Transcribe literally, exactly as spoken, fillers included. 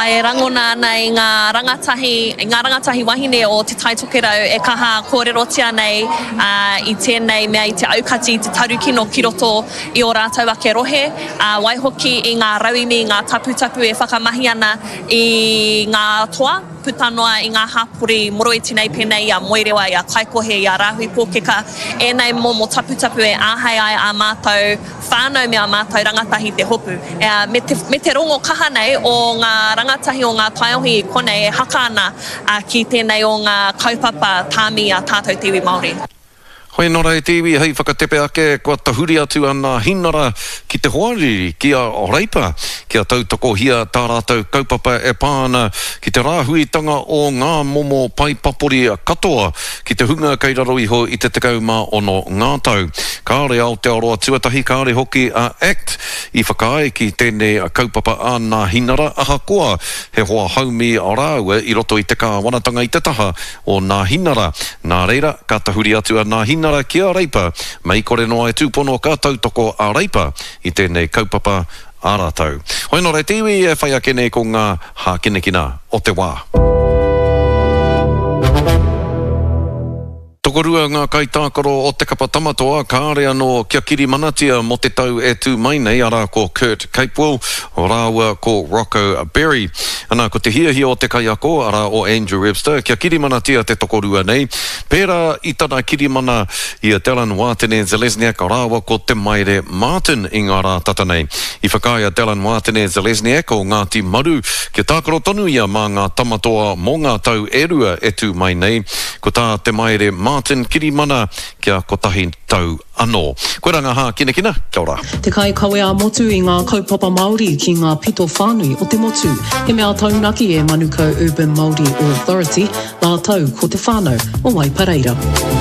E rangona ana i ngā rangatahi, i ngā rangatahi wahine o Te Tai Tokerau e kaha kōrerotia nei i tēnei mea i te aukati i te tarukino ki roto i ō rātou ake rohe, waihoki i ngā rauemi, i ngā taputapu e whakamahi ana i ngā toa puta noa i ngā hapori moroiti nei pēnei i a Moerewa, i a Kaikohe, i a Rāhui Pōkeka, ēnei momo taputapu e āhei ai ā mātou whānau me ā mātou rangatahi te hopu. Me te, me te rongo kaha nei o ngā rangatahi o ngā taiohi i konei e haka ana ki tēnei o ngā kaupapa tāmi a tātou te iwi Māori. Hoi nō rā e te iwi hei whakatepe ake kua tahuri atu a Nāhinara ki te hoariri, ki a Reipa, kia tautokohia tā rātou kaupapa e pā ana ki te rāhuitanga o ngā momo pae papori katoa ki te hunga kei raro iho i te tekau mā ono ngā tau. Kāore Aotearoa Tuatahi, kāore hoki a act i whakaae ki tēnei kaupapa a Nāhinara ahakoa he hoa haumi rāua i roto i te kāwanatanga i te taha o Nāhinara. Nā reira, ka tahuri atu a Nāhinara ki a Reipa, mei kore noa e tūpono ka tautoko a Reipa i tēnei kaupapa a rātou. Hoi nō reira te iwi e whai ake nei ko ngā hākinakina o te wā. Tokorua ngā kaitākaro o te kapa Tamatoa kāre anō kia kirimanatia mō te tau e tū mai nei, arā ko Kurt Capewell rāua ko Rocco Berry. Ana, ko te hiahia o te kaiako, arā o Andrew Webster, kia kirimanatia te tokorua nei, pērā i tana kirimana i a Dallin Watene-Zelezniak rāua ko Te Maire Martin i ngā rā tata nei. I whakaae a Dallin Watene-Zelezniak o Ngāti Maru kia tākaro tonu ia mā ngā Tamatoa mō ngā tau e rua e tū mai nei. Ko tā Te Maire Martin kirimana kia kotahi tau anō. Koirā ngā hākinakina, kia ora. Te kaikawe ā-motu i ngā kaupapa Māori ki ngā pito whānui o te motu. He mea taunaki e Manukau Urban Māori Authority, rātou ko te whānau o Waipareira.